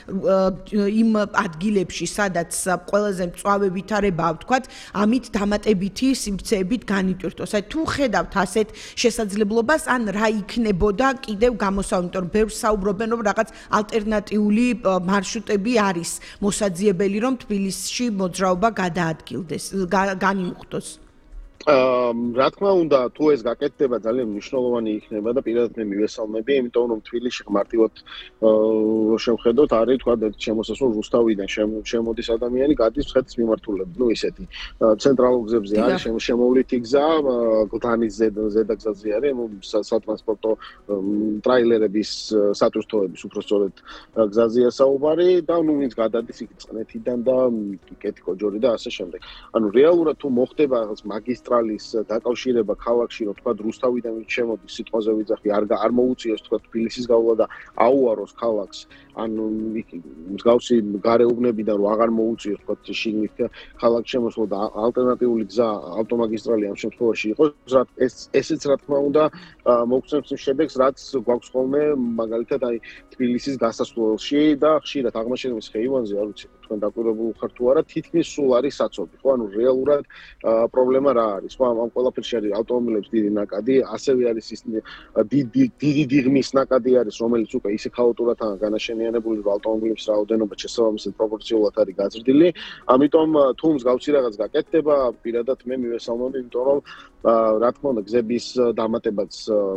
იმ ადგილებში, სადაც ყველაზე მწვავე ვითარებაა, ვთქვათ, ამით დამატებითი სივრცეებით განიტვირთოს. აი თუ ხედავთ ასეთ შესაძლებლობას, ან რა იქნებოდა კიდევ გამოსავალი, იმიტომ რომ ბევრს საუბრობენ, რომ რაღაც ალტერნატიული მარშრუტები არის მოსაძიებელი, რომ თბილისში მოძრაობა გადაადგილდეს, განიმუხტოს. რა თქმა უნდა, თუ ეს გაკეთდება, ძალიან მნიშვნელოვანი იქნება და პირადად მე მივესალმები, იმიტომ რომ თბილისში მარტივად რო შევხედოთ, არის თქვა შემოსასვლელ რუსთავიდან შემოდის ადამიანი, გადის მცხეთის მიმართულებით, ისეთი ცენტრალურ გზებზე არის შემოვლითი გზა, გლდანის ზედაგზაზე არის, სატრანსპორტო ტრაილერების სატვირთოების უпростоრეთ გზაზეა საუბარი და ვინც გადადის იქ წყნეთიდან და კეთიკოჯორი და ასე შემდეგ. ანუ რეალურად თუ მოხდება რაღაც მაგისტრალის დაკავშირება ქალაქში, რომ თქვა რუსთავიდან შემოდის სიტყვაზე ვიძახი, არ მოუწიოს თქვა თბილისის გავლა და აუაროს ქალაქს, ანუ მსგავსი გარეუბნებიდან რომ აღარ მოუწიოს თქვა შიგნით ქალაქს შემოსვლა და ალტერნატიული გზა ავტომაგისტრალი ამ შემთხვევაში იყოს, ესეც რა თქმა უნდა მოგცემს იმ შედეგს, რაც გვაქვს ხოლმე მაგალითად აი თბილისის გასასვლელში და ხშირად აღმაშენების ხეივანზე, არ ვიცი თქვენ დაკვირვებულ ხართ თუ არა, თითქმის სულ არის საცობი, ხო? ანუ რეალურად პრობლემა რა არის? ხო, ამ ყველაფერში არის ავტომობილების დიდი ნაკადი, ასევე არის ის დიდი დიღმის ნაკადი არის, რომელიც უკვე ისე ქაოტურადაა განაშენიანებული, რომ ავტომობილების რაოდენობა შესაბამისად პროპორციულად არის გაზრდილი. ამიტომ თუ მსგავსი რაღაც გაკეთდება, პირადად მე მივესალმები, იმიტომ რომ რა თქმა უნდა, გზების დამატებაც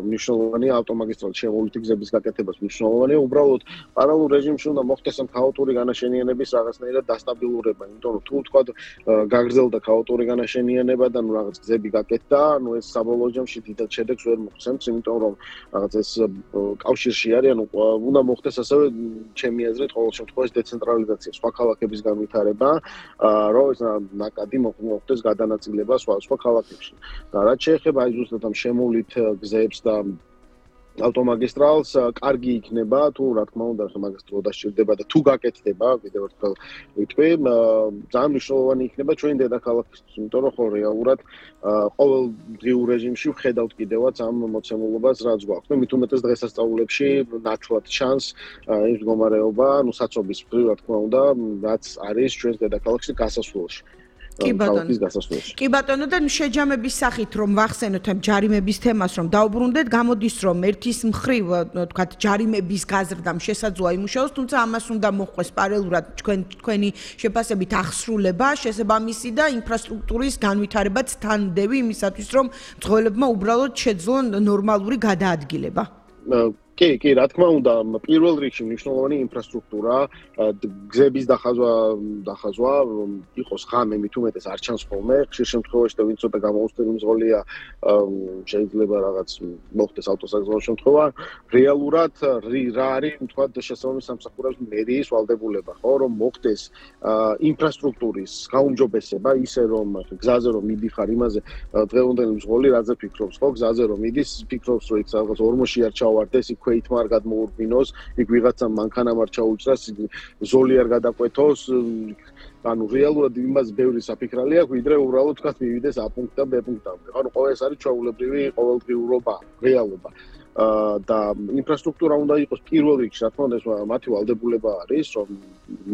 მნიშვნელოვანია, ავტომაგისტრალის შემოვლითი გზების გაკეთებაც მნიშვნელოვანია. უბრალოდ პარალელურ რეჟიმში უნდა მოხდეს ამ ქაოტური განაშენიანების რაღაცნაირად დასტაბილურება, იმიტომ რომ თუ თქვა გაგრძელდა ქაოტური განაშენიანება და ნუ რაღაც გზები გაკეთდა, ანუ ეს საბოლოო ჯამში დიდად შედეგს ვერ მოგცემს, იმიტომ რომ რაღაც ეს კავშირში არის, ანუ უნდა მოხდეს ასევე ჩემი აზრით ყოველ შემთხვევაში დეცენტრალიზაცია, სხვა ქალაქების განვითარება, რომ ეს ნაკადი მოხდეს გადანაწილება სხვა ქალაქებში. და რაც შეეხება აი ზუსტად ამ შემოვლით გზებს და ავტომაგისტრალს, კარგი იქნება, თუ რა თქმა უნდა, მაგას დრო დასჭირდება და თუ გაკეთდება, კიდევ ერთხელ ვიტყვი, ძალიან მნიშვნელოვანი იქნება ჩვენი დედაქალაქისთვის, იმიტომ რომ ხო რეალურად ყოველდღიურ რეჟიმში ვხედავთ კიდევაც ამ მოცემულობას, რაც გვაქვს. მით უმეტეს დღესასწაულებში ნათლად ჩანს ის მდგომარეობა, ანუ საცობის მხრივ, რა თქმა უნდა, რაც არის ჩვენს დედაქალაქში გასასვლელში. კი ბატონო და შეჯამების სახით რომ ვახსენოთ ამ ჯარიმების თემას რომ დაუბრუნდეთ, გამოდის რომ ერთის მხრივ თქვათ ჯარიმების გაზრდამ შესაძლოა იმუშაოს, თუმცა ამას უნდა მოხდეს პარალელურად თქვენი შეფასებით აღსრულება, შესაბამისი და ინფრასტრუქტურის განვითარებაც თანდევი იმისათვის რომ მძღოლებმა უბრალოდ შეძლონ ნორმალური გადაადგილება. კი, რა თქმა უნდა, პირველ რიგში მნიშვნელოვანი ინფრასტრუქტურა, გზების დახაზვა, იყოს ღამე, მით უმეტეს არ ჩანს ხოლმე, ხშირ შემთხვევაში და ვინც ცოტა გამოუცდელი მძღოლია, შეიძლება რაღაც მოხდეს ავტოსაგზაო შემთხვევა. რეალურად რა არის, თქვათ, შესაბამის სამსახურების მერიის ვალდებულება, ხო, რომ მოხდეს ინფრასტრუქტურის გაუმჯობესება, ისე რომ გზაზე რომ მიდიხარ იმაზე დღევანდელი მძღოლი რაზე ფიქრობს, ხო, გზაზე რომ მიდის, ფიქრობს, რომ იქ რაღაც ორმოში არ ჩავარდეს, იქ ქვეითმა არ გადმოურბინოს, იქ ვიღაცამ მანქანამ არ ჩაუჭრას, ზოლი არ გადაკვეთოს, ანუ რეალურად იმას ბევრი საფიქრალი აქვს, ვიდრე უბრალოდ თქვა მივიდეს A პუნქტიდან B პუნქტამდე. ანუ ეს არის ჩვეულებრივი ყოველდღიურობა, რეალობა. და ინფრასტრუქტურა უნდა იყოს პირველ რიგში, რა თქმა უნდა, ეს მათი ვალდებულება არის, რომ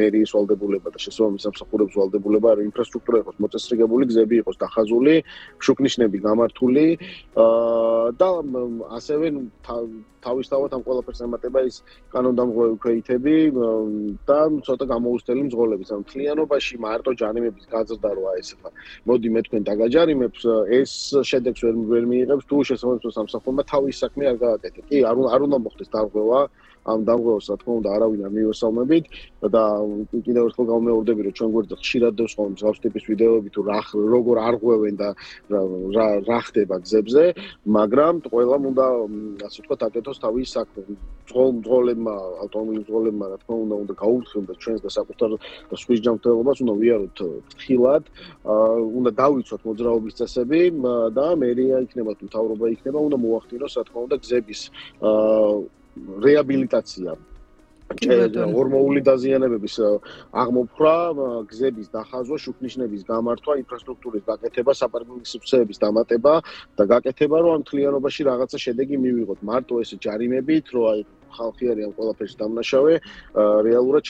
მერიის ვალდებულება და შესაბამის სამსახურების ვალდებულება არის, ინფრასტრუქტურა იყოს მოწესრიგებული, გზები იყოს დახაზული, შუქნიშნები გამართული და ასევე თავისთავად ამ ყველაფერს ემატება ის კანონდამღვრელი ქვეითები და ცოტა გამოუცდელი მძღოლების. ანუ მთლიანობაში მარტო ჯარიმების გაზრდა როა ესეა. მოდი მე თქვენ დაგაჯარიმებს, ეს შედეგს ვერ მიიღებს, თუ შესაბამის სამსახურმა თავის საქმე არ გააკეთე. კი, არ უნდა მოხდეს დარღვევა, ამ დარღვევას რა თქმა უნდა არავინ არ მივესალმებით და კიდევ ერთხელ გამეორდები, რომ ჩვენ გვერდზე ხშირად დევს ხოლმე მსგავს ტიპის ვიდეოები თუ როგორ არღვევენ და რა ხდება გზებზე, მაგრამ ყველამ უნდა ასე ვთქვათ აკეთოს თავის საქმე. მძღოლებმა, ავტომობილის მძღოლებმა რა თქმა უნდა გაუთხილდეთ ჩვენს და საკუთარ სხვის ჯანმრთელობას, უნდა ვიაროთ ფრთხილად, უნდა დავიცვათ მოძრაობის წესები და მერია იქნება თუ მთავრობა იქნება, უნდა მოახდინოს რა თქმა უნდა გზების რეაბილიტაცია. ორმოული დაზიანებების აღმოფხვრა, გზების დახაზვა, შუქნიშნების გამართვა, ინფრასტრუქტურის გაკეთება, საპარკინგო სივრცეების დამატება და გაკეთება, რომ ამ მთლიანობაში რაღაცა შედეგი მივიღოთ. მარტო ეს ჯარიმებით, რომ აი ხალხი არის ამ ყველაფერში დამნაშავე, რეალურად